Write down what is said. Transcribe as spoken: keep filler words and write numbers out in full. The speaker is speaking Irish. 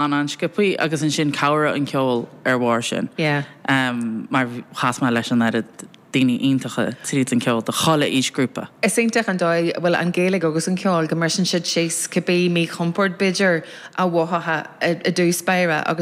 an-sciobtha agus ansin chabhraigh an ceol ar bharr sin. Yeah. Um, mar chas mé leis an oiread daoine iontacha tríd an ceol de chuile aoisghrúpa. Is iontach an dóigh bhfuil an Ghaeilge agus an ceol go mbriseann siad síos cibé míchompord b'fhéidir a mhothófá i dtús báire agus